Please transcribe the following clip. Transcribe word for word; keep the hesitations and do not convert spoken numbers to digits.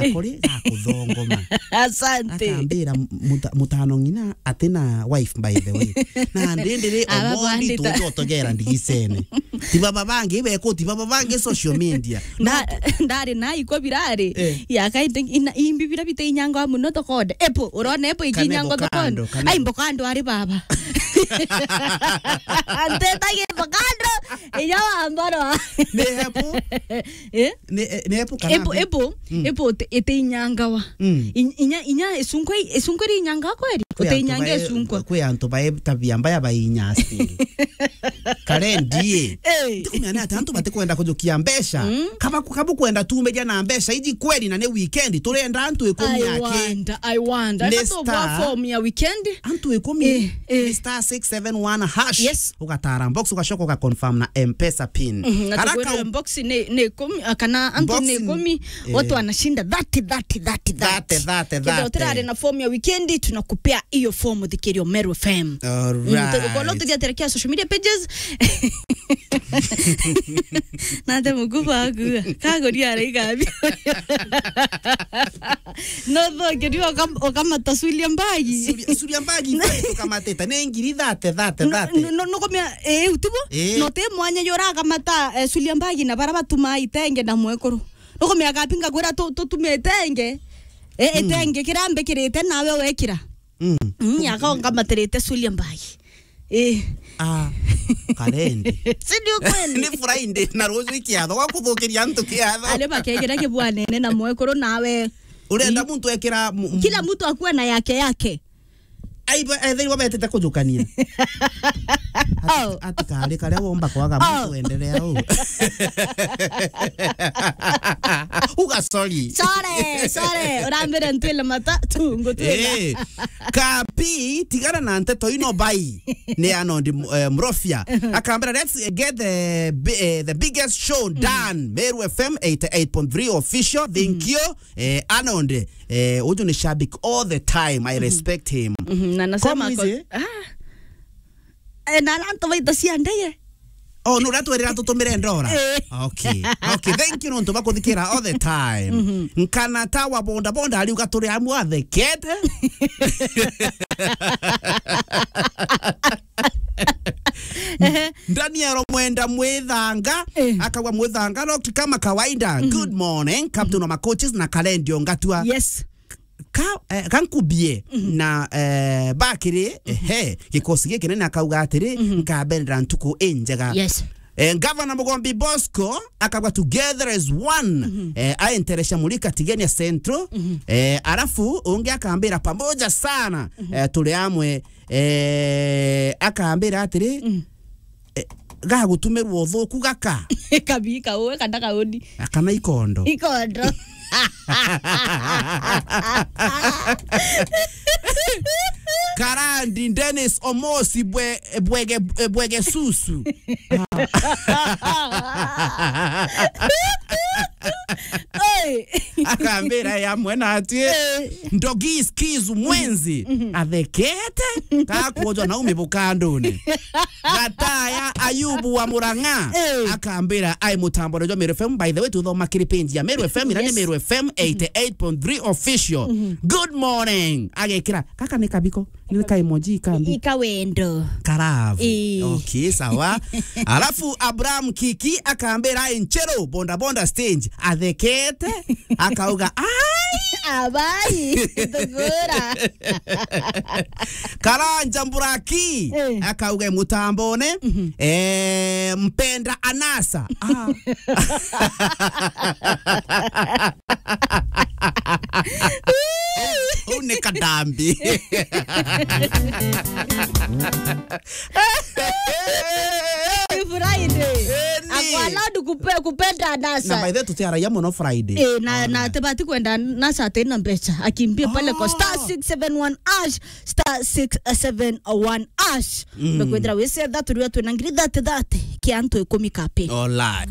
akori, gakuthongoma. Asante. Akambira, "Muta-, mutano ng'ina atina wife, by the way." Na ndindiri Aba Omondi bandita. Tutotegera ndigicene. Ti baba bangi beko, ti baba bangi social media. Nda-, ndari na iko birari. Eh. Ya kaite ina, imbi bira bite inyanga muno tokonde. Epo, urona epo ikinyanga tokonde. Kane bo kando, kane bo. Ai, mbokando ari baba. Antetagie mbokando, inya wa mbarwa. Ni epo? Eh? Ni, eh, ni epo kana Epo, mbi? Epo, Mm. Epo ite, ite inyangawa. Mm. In-, inya, inya esunkwa, esunkwa ri inyangawa kweri? Kwi antu Uteinyange bae-, esunkwa. Kwi antu bae tabia mbaya bainya still. Kare ndie. Eh. Ndikumenya ni ati antu batikwenda kujukia mbeca. Mm. Kaba, kaba kwenda tumiria na mbeca iji kweri na ni weekend, turenda antu ikumi I ake. Wonder, I wonder. Ni Aka tubwa star. Form ya weekend. Antu ikumi. Eh, eh. Ni star six seven one hash. Yes. Ugatara box, ugacoka ugaconfirm na M-Pesa pin. Mhm, na Karaka tukwira u- box ni, ni ikumi, ah, kana antu box ni ni ikumi, eh. Watu wanashinda thirty, thirty, thirty, thirty. Thirty, thirty, thirty. Kenda utirari na form ya weekend, tunakupea hiyo form thikirio Meru F M. All right. Mm, tu-, ukono tugiaterekea social media pages. Nate mukuba aku. Kagoria araiga abi. No thoke ni okam-, okamata suria mbagi. Suria, suria mbagi, mbagi tukamateta. Ni ngiri thate, thate, no, thate. No, no, no komia, eh, utibo? Eh. No te mwanya yora akamata, eh, suria mbagi na bara batuma itenge na mwekuru. No komia kapinga kwira tu-, tutume itenge. Eh, mm. Itenge kirambe kirite nawe wekira. Mm. Mm, yaka ongamatirite suria mbagi. Eh. Ah, Karendi. Si ndio kweli? Ni Friday, na ruju ikiatho, gwa kuthukiria antu kiatho. Ale bakegera kibwanene na mwekuru nawe. Urenda muntu ekira mu-, mu- Kila mtu akuwe na yake yake. Ai, ba-, ethirwa betete kujukania. Oh. Ati, ati kari karia womba kwaga muntu endelea u. Uga sorry. Sorry, sorry. Urambire ntwile mata tu, ngutwila. Eh. Kapi, tigana na nteto ino bai. Ni Arnold, eh, Mrofia. Akambira, "Let's get the bi-, eh, the biggest show done." Meru F M eighty-eight point three official. Thank you. Eh, Arnold, eh, uju ni shabik all the time. I respect him. Mhm, na nasema Come ko-, easy. Ah. Eh, na antu baita cia ndege. Oh, no, uratwirira tutumire ndora? Eh. Okay. Okay, thank you nontu bakuthikira all the time. Mhm. Nkana ta wa bonda bonda, ariuga turi amwe athekete. Ehe. Daniel Mwenda Mwithanga, eh, akauga, "Mwithanga, locked kama kawaida. Mhm. Good morning, Captain wa Macoaches na Kalendio Ngatua." Yes. Ka, eh, kankubie na, eh, bakiri, ehe, gikosi giki nene akauga atiri, "Nkabendera ntuku injega." Yes. Eh, Gavana Mugombi Bosco akauga, "Together as one." Eh, aenteresha Murika Tigania Central. Eh, arafu ungi akambira, "Pamoja sana, eh, turi amwe." Eh, akambira atiri, eh, gagutumirwa uthuku gaka. Kabi kaue kana kauni. Kana ikondo. Ikondo. Karandi Dennis Omosi bwe-, bwege, bwege susu. Oi. Akambira ya mwena ati, eh, Ndogi Skizu Mwenzi, athekete, kakwojwa na umi bukanduni. Gataya Ayubu wa Murang'a, eh, akambira ai mutambo jwa Meru F M. By the way, tuthoma kiri page ya Meru F M, ira ni, yes, Meru F M eighty-eight point three official. Good morning. Agekira, kaka ni kabiko. Ni ka emoji kambi. Ika wendo. Karavu. Ii. Okay, sawa. Alafu Abraham Kiki akambira ai nchero bonda bonda stage. Athekete. Akauga, "Ai! Abai, thugura." Karanja Mburaki, eh, akauga mutambone, eh, "Mpenda anasa." Ah. Uu ni kadambi. Ni Friday. Eh, ni. Ako allowed kupe-, kupenda anasa. Na by the way, tutiaragia muno Friday. Eh, na, na tibati kwenda anasa atina mbeca. Akimbie pale kwa star six seven one hash, star six seven one hash. Mm. Mekwithira wisetha turia twina ngiri thate thate kia antu ikumi kapi. All right.